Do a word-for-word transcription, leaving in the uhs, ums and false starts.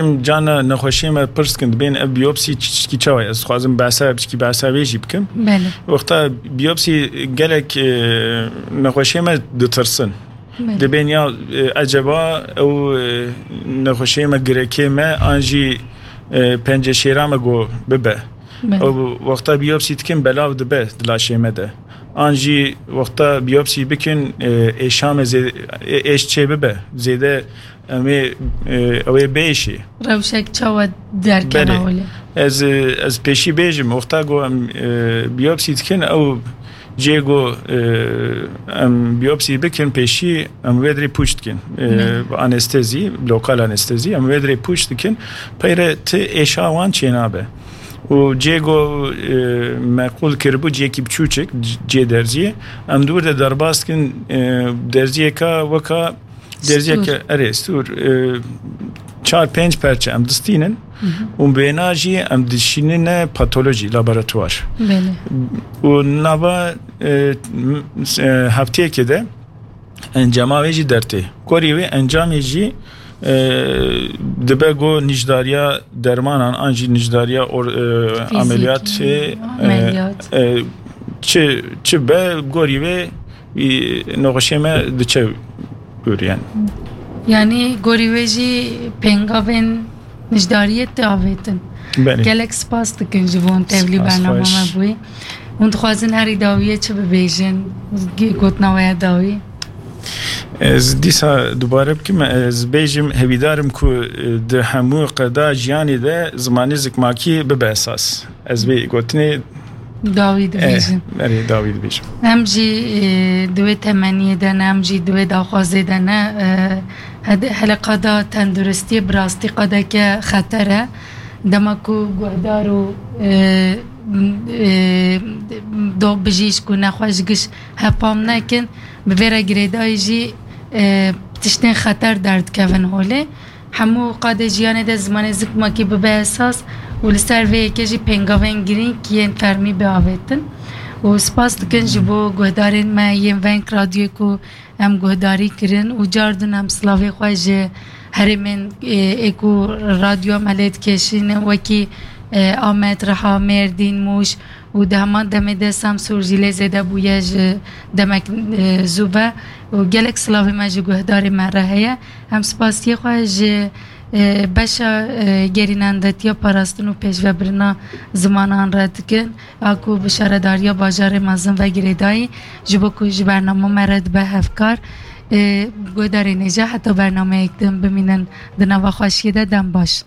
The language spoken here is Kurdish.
Em cana nexweşiyê me pirs dikin, dibên ev biyopsî çi-, çi çawa ye? Ez dixwazim behsa, piçkî behsa vê jî bikim. Belê. Wexta biyopsî gelek, e, nexweşiyê me ditirsin. Belê. Dibên ya, e, eceba ew, e, nexweşiyê me, girekê me, an jî, e, penceşêra me go bibe. Belê. Ew wexta biyopsî dikin belav dibe di laşê me de. An jî wexta biyopsî bikin, e, êşa me zê-, e, êş çê bibe. Zêde em ê, e, ew ê bêşê. Rewşek çawa derkeve Belê. holê? Ez, e, ez pêşî bêjim, wexta ku em, e, biyopsî dikin, ew cê ku, e, em biyopsî bikin pêşî, em wê dirê pûç dikin. E, Belê. anestezî, lokal anestezî, em wê dirê pûç dikin. Peyre ti êşa wan çênabe. Û cê ku, e, me qûl kiribû, ciyekî biçûçik, c-, cê derziyê, em dûr de derbas dikin, e, derziyeka weka Derziyeke, Stûr. erê, stûr, e, çar pênc perçe em distînin Hı hı. û bêna jî em dişînine patolojî, laboratuvar. Belê. Û nava, e, m-, e, hefteyekê de encama wê jî dertê. Gorî wê encamê jî, e, dibe go nijdariya dermanan an jî nijdariya or-, e, Fîzîkî, ameliyatê, e, ameliyat. e, çi, çi be gorî wê, e, nexweşê me diçe ûrî, yani. Yanî gorî wê jî pêngavên nijdariyê tê avêtin. Belê. Gelek spas dikin ji bo hûn tevlî Spas bernama xweş. me bûyî. Hûn dixwazin herî dawiyê çi bibêjin? Gotina we ya dawî. Ez dîsa dubare bikim, ez bêjim, hevîdar im ku, e, di hemû qeda jiyanê de zimanê zikmakî bibe esas. Ez vê gotinê Dawî dibêjin. Eh, erê, dawî dibêjim. Em jî, e, di wê temenniyê de ne, em jî di wê daxwazê de ne. E, hed-, hele qada tenduristiyê bi rastî qadeke xeter e. Dema ku guhdar û, e, e, do bijîşk û nexweş giş hepam nekin, bi vê re girêdayî jî, e, tiştên xeter derdikevin holê. Hemû qadê jiyanê de zimanê zikmakî bibe esas û li ser vê yekê jî pêngavên girîng yên fermî biavêtin. Û spas dikin ji bo guhdarên me yên Veng Radyoyê ku em guhdarî kirin û cardin em silavê xwe ji herêmên, ê, ê ku radyoya me lê dikêşînin, wekî, ê, Amed, Riha, Mêrdîn, Mûş û di heman demê de Semsûr jî lê zêde bûye ji demek, ê, zû ve û gelek silavê me ji guhdarê me re heye. Em spasiyê xwe ji, e, beşa, e, gerînendetiya parastin û pêşvebirina zimanan re dikin, a ku bi şaredariya bajarê mezin ve girêdayî, ji bo ku ji bernama me re dibe hevkar. E, guhdarên hêja heta bernameyek din bimînin di nava xweşiyê de, dem baş.